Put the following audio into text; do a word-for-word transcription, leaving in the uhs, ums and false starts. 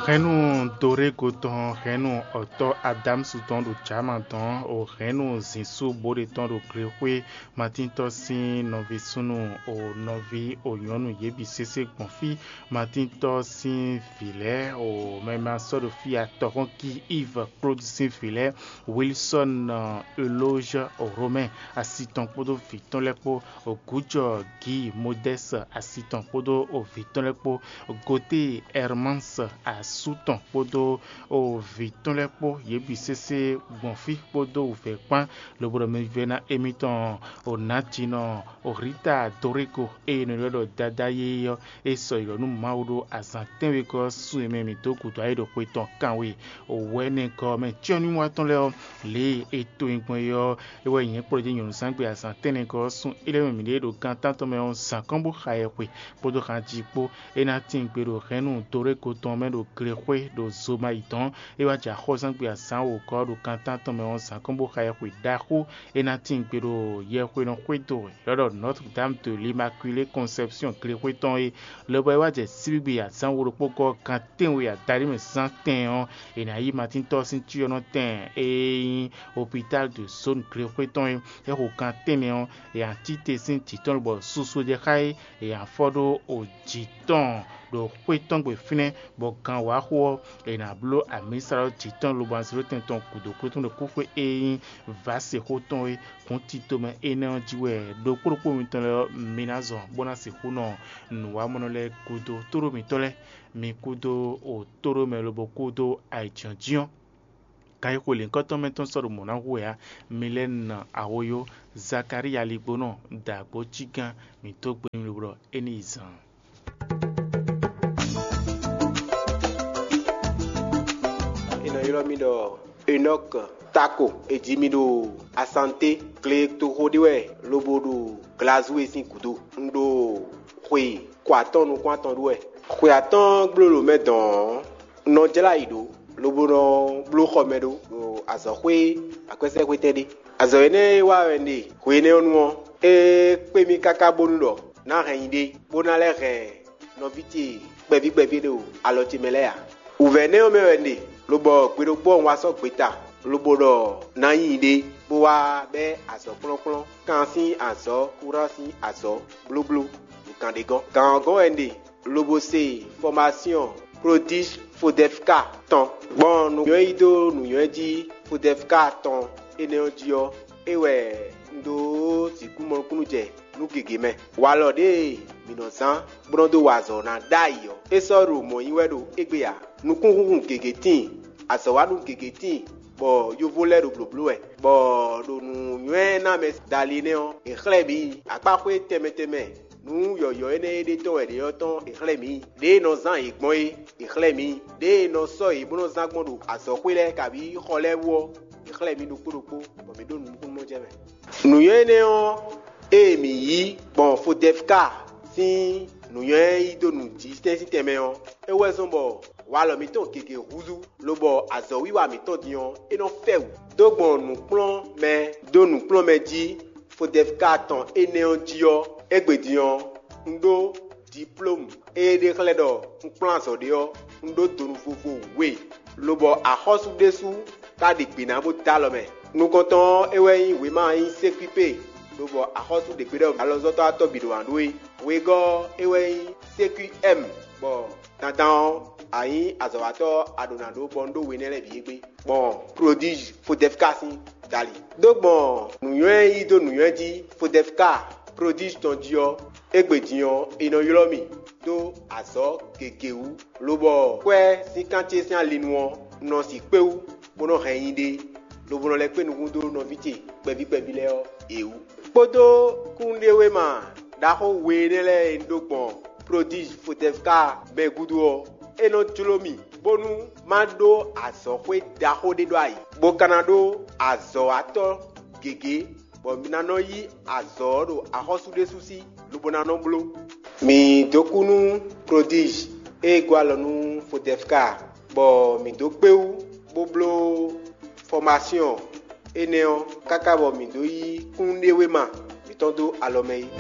Hɛ̌nnu Dorego tɔn, hɛ̌nnu ɔ̌tɔ́ Adámusu tɔn ɖo Jama dɔn, o hɛ̌nnu Zinsú Bóɖe tɔn ɖo Glexwé, Matíntɔ́ sín nɔví súnnu, o nɔví o nyɔ̌nu yě bǐ sésé gbɔn fí. Matíntɔ́ sín vǐ lɛ́ɛ, o mɛ ma sɔ́ ɖo fí atɔ́hɔ́n Ki Iv Klódu sín vǐ lɛ́ɛ, Wilsɔ́n Elózhɛ Romɛ́ɛ asi tɔn kpódó vǐ tɔn lɛ́ɛ kpó, Gǔjɔ Gǐ Modɛ́s asi tɔn kpódó vǐ tɔn lɛ́ɛ kpó, Gote Ɛrmáns asú tɔn kpódó vǐ tɔn lɛ́ɛ kpó, yě bǐ sésé gbɔn fí kpódó wǔvɛ́ kpán, lobo ɖɔ mɛvívɛ́ná émítɔn Onǎjinɔ Rita Dorego e è nɔ ylɔ́ ɖɔ Dadá yéyé ɔ́, é sɔ́ yi lɔ nú Mawu ɖó azǎn tɛ́nwegɔ́ ɔ́ sun e mɛ mǐ dó gǔdo ayǐ ɖo xwe tɔn kanwe wɛ̌nɛgɔ́ ɔ́ mɛ. Cyɔ́númíwa tɔn lɛ́ɛ ɔ́, lě e è to nyi gbɔn é ɔ́, é wɛ nyɛ kplɔ́ jɛ nyɔ̌nuzángbe azǎn tɛ́nnɛgɔ́ ɔ́ sun. É lɛ́ mɛ mǐɖée ɖo gan tántɔn mɛ ɔ́, zǎn kɔn bó xa yɛhwe kpódó hanjí kpó. É ná tín gbe ɖo hɛ̌nnu Dorego tɔn mɛ ɖo Glexwé ɖo Zomayi dɔn. É wá jɛ axɔ́súzángbe azǎn wǒgɔ́ ɖo gan tántɔn mɛ ɔ́, zǎn kɔn bó xa yɛhwe ɖaxó. É ná tín gbe ɖo yɛhwe nɔ xwedó ylɔ́ ɖɔ Notre Dame de l'Immaculée Conception Glexwé tɔn é, lobɔ é wá jɛ síbígbe azǎn wo ɖokpó gɔ́ gan tɛ́nwe adaɖé mɛ zán tɛn ɔ́, è nǎ yí Matíntɔ́ sín cyɔ́nɔtɛn e nyí Hôpital de Zone Glexwé tɔn é. É xo gan tɛ́nnɛ ɔ́, è nǎ cí te sín jǐ tɔn lobɔ susu jɛ xá é, è nǎ fɔ ɖó jǐ tɔn ɖo xwé tɔn gbe fínɛ́, bɔ gan wǎ xo ɔ́, è nǎ bló amǐsa ɔ́ jǐ tɔn lobo anzlótɛn tɔn gǔdo kútúnú kúxwé e nyí vǎsexó tɔn é. Hǔn tito mɛ énɛ́ ɔ́ jí wɛ ɖokpó ɖokpó mitɔn lɛ́ɛ ɔ́, mi ná zɔn bó ná sixú nɔ nǔwamɔnɔ lɛ́ɛ kúdó tóɖó mitɔn lɛ́ɛ, mi kúdó tóɖó mɛ lobo kúdó ayǐjínjɔ́n. Kan e xwe lěhunkɔtɔn mɛ tɔn sɔ́ ɖo mɔ̌ ná hu wɛ ǎ, mi lɛ́ nɔ ahoyó. Zakalíya ligbónɔ da gbo cí gán, mǐ dó gbe n'i lobo ɖɔ é ní yi zaan. È nɔ ylɔ́ mì ɖɔ Enɔ́k Tako. È ji mì ɖo Asanté, gletoxo ɖé wɛ lobo ɖo Glazúwe sín gǔdo. Un ɖo xwe kɔ atɔ́ɔ́n nukún atɔn ɖu wɛ. Xwe atɔ́ɔ́n gbló ɖo mɛ dɔn ɔ́, un nɔ jlá ayǐ ɖó, lobo nɔ bló xɔ mɛ ɖó ɖo azɔ̌xwé akwɛ́sɛ́xwétɛn ɖé. Azɔ̌ énɛ́ e wa wɛ un ɖe hwe énɛ́ ɔ́ nu ɔ́, é kpé mì káká bónú ɖɔ ná hɛn nyi ɖé, bó ná lɛ́ hɛn nɔví ce kpɛví kpɛví ɖo alɔ ce mɛ lɛ́ɛ ǎ. Wǔvɛ́ énɛ́ ɔ́ mɛ wɛ un ɖe, lobɔ gbe ɖokpó ɔ́ un wá sɔ́ gbeta, lobo ɖɔ ná nyi ɖé, bó wá bɛ́ azɔ̌ kplɔ́nkplɔ́n, kan sín azɔ̌, kúran sín azɔ̌, blóbló, nǔkan ɖé gɔ́n. Gǎn ɔ́ gɔ́n wɛ un ɖe, lobo se fɔmasyɔn Prodíj Fodɛfka tɔn. Gbɔn nǔnywɛ́ yí dó nǔnywɛ́ jí Fodɛfka tɔn énɛ́ ɔ́ jí ɔ́, é wɛ un ɖó sixú mɔ nukúnnú jɛ nú gěgé mɛ. Walɔ ɖěe mǐ nɔ zán bó nɔ́ dó wa azɔ̌ ná ɖ'ayǐ ɔ́, é sɔ́ ɖo mɔ̌ nyi wɛ ɖo égbé ǎ. Nukúnhúnhun gěgé tíin, azɔ̌wanú gěgé tíin, bɔ yovo lɛ́ɛ ɖo blǒbló wɛ, bɔ ɖo nǔnywɛ́ ná mɛ dali énɛ́ ɔ́, è xlɛ́ mǐ akpáxwé tɛnmɛ tɛnmɛ nǔ yɔ̌yɔ́ énɛ́ e ɖe tɔn wɛ ɖě ɔ́ tɔn è xlɛ́ mǐ. Ɖěe è nɔ zán yě gbɔn é, è xlɛ́ mǐ. Ɖěe è nɔ sɔ́ yě bó nɔ́ zán gbɔn ɖo azɔ̌xwé lɛ́ɛ kabǐ xɔ lɛ́ɛ wú ɔ́, è xlɛ́ mǐ ɖokpó ɖokpó, bɔ mǐ ɖó nǔ nukúnnú jɛ mɛ. Nǔnywɛ́ énɛ́ ɔ́, ée mǐ yí gbɔn Fodɛfka sín nǔnywɛ́ yí dó nǔjísɛ́n sín tɛnmɛ ɔ́, é wɛ zɔ́n bɔ walɔ mǐtɔn gěgé húzú, lobɔ azɔ̌wiwa mǐtɔn din ɔ́, é nɔ fɛ wǔ. Dó gbɔn nǔkplɔ́nmɛ dó nǔkplɔ́nmɛ jí Fodɛfka tɔn énɛ́ ɔ́ jí ɔ́, égbé din ɔ́, un ɖó diplómu e ɖe xlɛ́ ɖɔ un kplɔ́n azɔ̌ ɖé ɔ́, un ɖó donu vovo we, lobɔ axɔ́sú ɖésú ka ɖe gbě ná bó dó alɔ mɛ. Nukɔntɔn ɔ́, é wɛ nyí wěma e nyí sékúipé, lobɔ axɔ́sú ɖe gbe ɖɔ alɔzɔ́tɔ́ atɔ́ bǐ ɖo wǎn ɖó é. Wegɔ́ ɔ́, é wɛ nyí sékúi ɛ́m, bɔ dandan ɔ́, a nyǐ azɔ̌watɔ́ ɔ́, a ɖǒ ná ɖó bɔ un ɖó we énɛ́ lɛ́ɛ bǐ égbé. Gbɔn Prodíj Fodɛfka sín dali. Dó gbɔn nǔnywɛ́ yí dó nǔnywɛ́ jí Fodɛfka Prodíj tɔn jí ɔ́, égbé din ɔ́, è nɔ ylɔ́ mì dó azɔ̌ gěgé wú, lobɔ kwɛ́ sín kan ce sín ali nu ɔ́, un nɔ si kpé wú, bó nɔ́ hɛn nyi ɖe, lobo nɔ lɛ́ kpé nukún dó nɔví ce kpɛví kpɛví lɛ́ɛ ɔ́, è wú. Kpódó kúnnuɖewéma ɖaxó we énɛ́ lɛ́ɛ e un ɖó gbɔn Prodíj Fodɛfka mɛ gúdo ɔ́, é nɔ jló mì, bónú má ɖó azɔ̌xwé ɖaxó ɖé ɖó ayǐ, bó ka ná ɖó azɔ̌watɔ́ gěgé, bɔ mi ná nɔ yí azɔ̌ ɔ́ ɖo axɔ́sú ɖésú sí, lobo ná nɔ bló. Mǐ dó kú nú Prodíj e gɔ́ alɔ nú Fodɛfka, bɔ mǐ dó kpé wú, bó bló fɔmasyɔn énɛ́ ɔ́, káká bɔ mǐ dó yí kúnnuɖewéma mǐtɔn dó alɔ mɛ é.